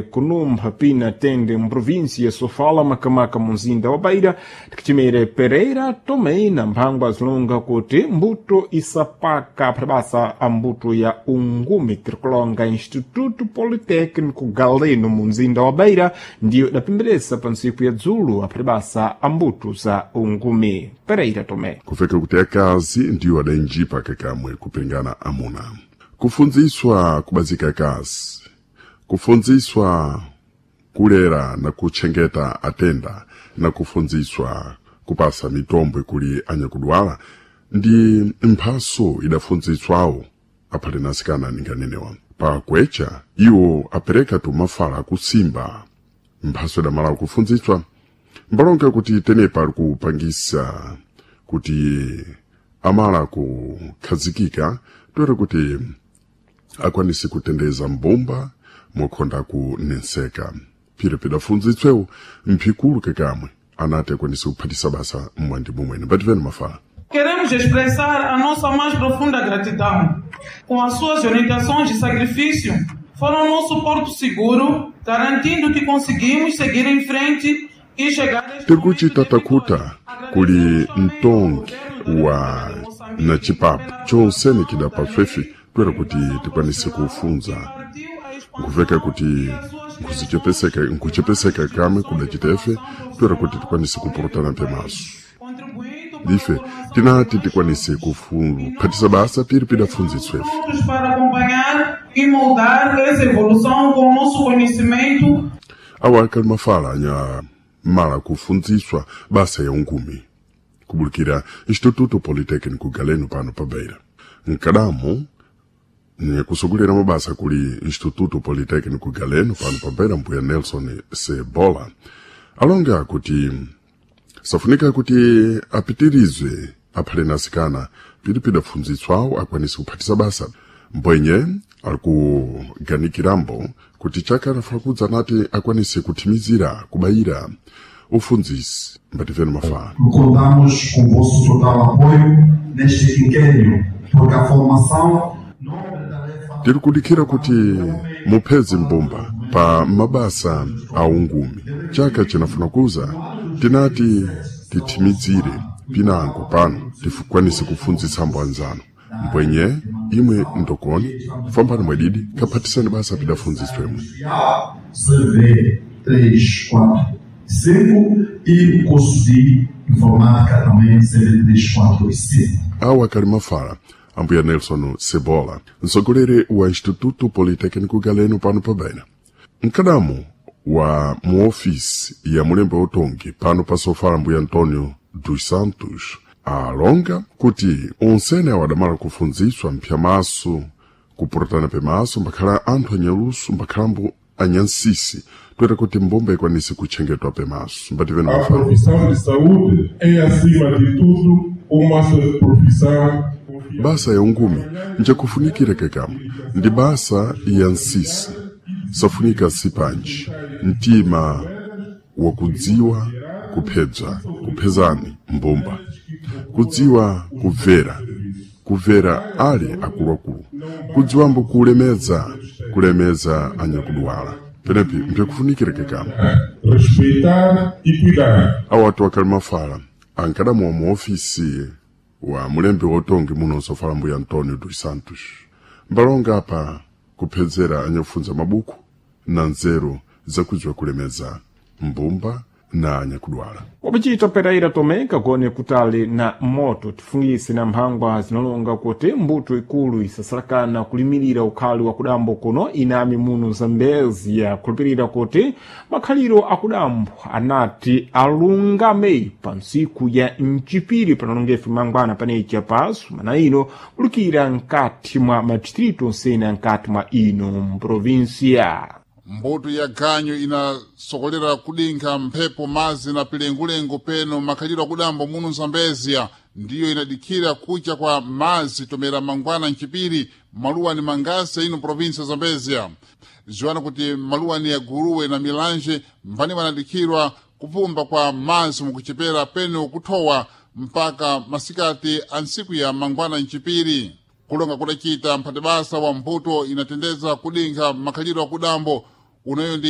Kunumpha pina tende mprovinsia ya Sofala, Makamaka munzinda wa Beira, tikuchimere Pereira Tomé na mphangwa zilonga kuti mbuto isapaka phabasa a mbuto ya ungumi tirikulonga Instituto Politécnico Galeno munzinda wa Beira ndiyo idapemberesa pa ntsiku ya dzulo aphibasa a mbuto za ungumi. Pereira Tomé. Kufeka kuti akazi ndiwo adainjipa kakamwe kupingana amuna. Kufunziswa kubazika akazi, kufunziswa kulera na kuchengeta atenda na kufunziswa kupasa mitombo kuli anyakudwala ndi mphaso idafunziswawo aphale nasikana ninganenewa. Pakwecha iwo apereka tumafala akusimba mphaso idamala kufunziswa mbalonga kuti tenepa ali kupangisa kuti amala kukhazikika toera kuti akwanise kutendeza mbumba mokhonda kunenseka. Phiri pidafunzitswewo mphikulu kekamwe anati akwanise kuphatisa basa mmwandi mumwene mbativeni mafala. Queremos expressar a nossa mais profunda gratidão. Com as suas orientações e sacrifício, foram nosso porto seguro, garantindo que conseguimos seguir em frente e chegar a este Tiri kuchita takuta kuli mtongi wa na chipapo chonsene chidapaswefe toera kuti tikwanise kufunza nkuveka kuti nkuchepeseka kamwe kudachitefe toera kuti tikwanise kupurutana pemaso. Ife tinati tikwanise kuphatisa basa piri pidafunzitswefe. Prontos para acompanhar e moldar essa evolução com o nosso conhecimento. Awa akali mafala anya mala kufunziswa basa ya ungumi kubulikira Instituto Politécnico Galeno pano pa Beira. Nkadamu kusogolera mabasa kuli Instituto Politécnico Galeno pano pa Beira mbuya Nelson Sebola alonga kuti safunika kuti apitirizwe aphale nasikana piri pidafunzitswawo akwanise kuphatisa basa. Mbwenye ali kuganikirambo kuti chaka anafuna kudza nati akwanise kuthimizira kubayira ufundzisi mbativeni mafala. Contamos com o vosso total apoio neste quinquênio, porque a formação nobre tarefa Tiri kudikhira kuti mupheze mbumba pa mabasa a ungumi. Chaka chinafuna kuza tinati tithimizire pinango pano tikwanise kufunzitsa anzano. Mbwenye imwe ndokoni fambani mwedidi kaphatisani basa pidafunzitswemwe. CV 3, 4, 5 e o curso de Informática também CV 3, 4 e 5. Awa akali mafala ambuya Nelson Sebola mtsogoleri wa Instituto Politécnico Galeno pano pa Beira. Mkadamu wa muofisi ya mulembe utongi pano pa Sofala mbuya Antonio dos Santos alonga kuti onsene awo adamala kufunziswa mphyamaso kupurutana pemaso mbakhala anthu anyaluso mbakhalambo anyansisi toera kuti mbumba ikwanise kutchengetwa pemaso mbativeni A mafala. profissão de saúde é, acima de tudo, uma profissão Basa ya ungumi njakufunikira kekamwe ndi basa ya nsisi safunika sipanji mtima wakudziwa kuphedza kuphezani mbumba kudziwa kubvera kubvera ali akuluakulu kudziwambo kulemedza kulemedza anyakudwala penepi mpyakufunikira kekamwe. Respeitar e cuidar. Awatu akali mafala ankadamuwa mu ofisi wa mulembi wotongi muno Sofala mbuya Antonio dos Santos mbalonga apa kuphedzera anyakufunza mabuku na nzeru zakudziwa kulemeza mbumba na anyakudwala. Wapachita Pereira Tomé kagone kutali na moto tifungise na mphangwa zinalonga kuti mbuto ikulu isasalakana kulimirira ukhali wa kudambo kuno inami muno Zambezia kulupirira kuti makhaliro akudambo anati alungame pa ntsiku ya mchipiri panalongefe mangwana panecha pasu mana ino kulukira nkati mwa madistritu onsene nkati mwa ino mprovinsia. Mbuto ya ganyu inasokolera kudinkha mphepo mazi na pilengulengu peno makhaliro akudambo muno Zambezia ndiyo inadikhira kucha kwa mazi tomera mangwana mchipiri maluwa ni mangasa ino provinsia Zambezia. Ziwana kuti maluwa ni aguruwe na milanje mphani wanadikhirwa kupumba kwa mazi mukuchepera peno kuthowa mpaka masikati a ntsiku ya mangwana mchipiri. Kulonga kudacita mphatibasa wa mbuto inatendeza kudinkha makhaliro akudambo unayo ndi